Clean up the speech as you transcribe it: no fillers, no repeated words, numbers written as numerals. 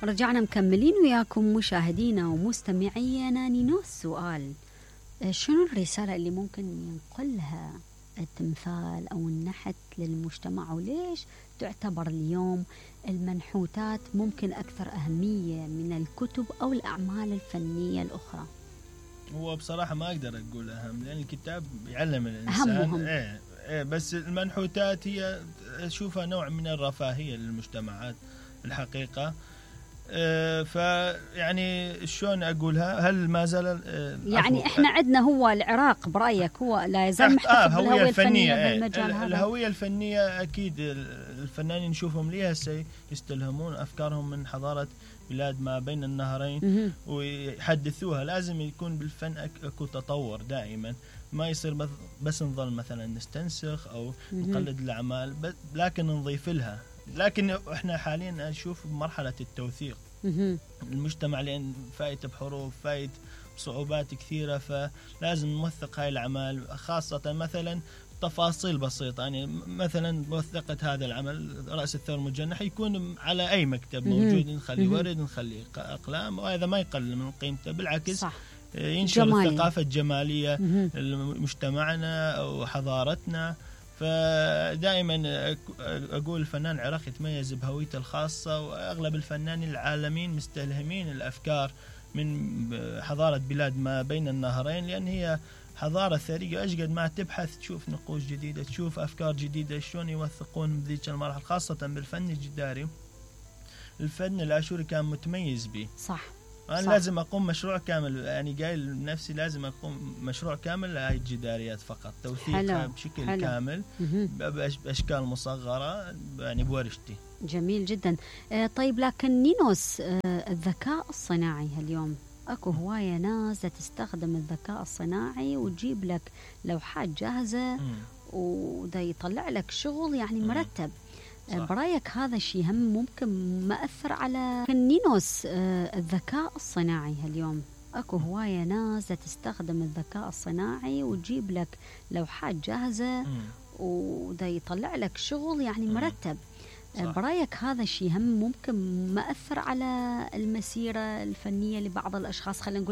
رجعنا مكملين وياكم مشاهدينا ومستمعينا. نينوس سؤال، شنو الرسالة اللي ممكن ينقلها التمثال أو النحت للمجتمع، وليش تعتبر اليوم المنحوتات ممكن أكثر أهمية من الكتب أو الأعمال الفنية الأخرى؟ هو بصراحة ما أقدر أقول أهم، لأن الكتاب يعلم الإنسان بس المنحوتات هي أشوفها نوع من الرفاهية للمجتمعات الحقيقة. فيعني شلون أقولها، هل ما زال يعني إحنا عندنا هو العراق برأيك هو لا يزال محتفظ بالهوية الفنية بالمجال هذا؟ الهوية الفنية أكيد الفنانين نشوفهم ليها يستلهمون أفكارهم من حضارة بلاد ما بين النهرين ويحدثوها. لازم يكون بالفن أكو تطور دائما، ما يصير بس نظل مثلا نستنسخ أو نقلد الأعمال، لكن نضيف لها. لكن احنا حاليا نشوف مرحلة التوثيق المجتمع، لأن فايت بحروب، فايت بصعوبات كثيرة، فلازم نوثق هاي الأعمال، خاصة مثلا تفاصيل بسيطة. يعني مثلا موثقة هذا العمل رأس الثور المجنح يكون على أي مكتب موجود، نخلي ورد، نخلي أقلام، وهذا ما يقلل من قيمته، بالعكس صح. ينشر الثقافة الجمالية لمجتمعنا وحضارتنا. فدائما أقول الفنان العراقي يتميز بهويته الخاصة، وأغلب الفنانين العالمين مستلهمين الأفكار من حضارة بلاد ما بين النهرين، لأن هي حضارة ثرية. أشقد ما تبحث تشوف نقوش جديدة، تشوف أفكار جديدة، شلون يوثقون بذيك المرحلة، خاصة بالفن الجداري. الفن الآشوري كان متميز به، صح. أنا لازم أقوم مشروع كامل، يعني قايل لنفسي لازم أقوم مشروع كامل لهاي الجداريات فقط، توثيقها بشكل كامل بأشكال مصغرة، يعني بورشتي. جميل جدا. طيب لكن نينوس، الذكاء الصناعي اليوم أكو هواية ناس تستخدم الذكاء الصناعي وتجيب لك لوحات جاهزة وده يطلع لك شغل يعني مرتب. برأيك هذا الشيء هم ممكن مأثر على نينوس الذكاء الصناعي اليوم؟ أكو هواية ناس تستخدم الذكاء الصناعي وتجيب لك لوحات جاهزة وده يطلع لك شغل يعني مرتب. برأيك هذا الشيء هم ممكن مأثر على المسيرة الفنية لبعض الأشخاص، خلينا نقول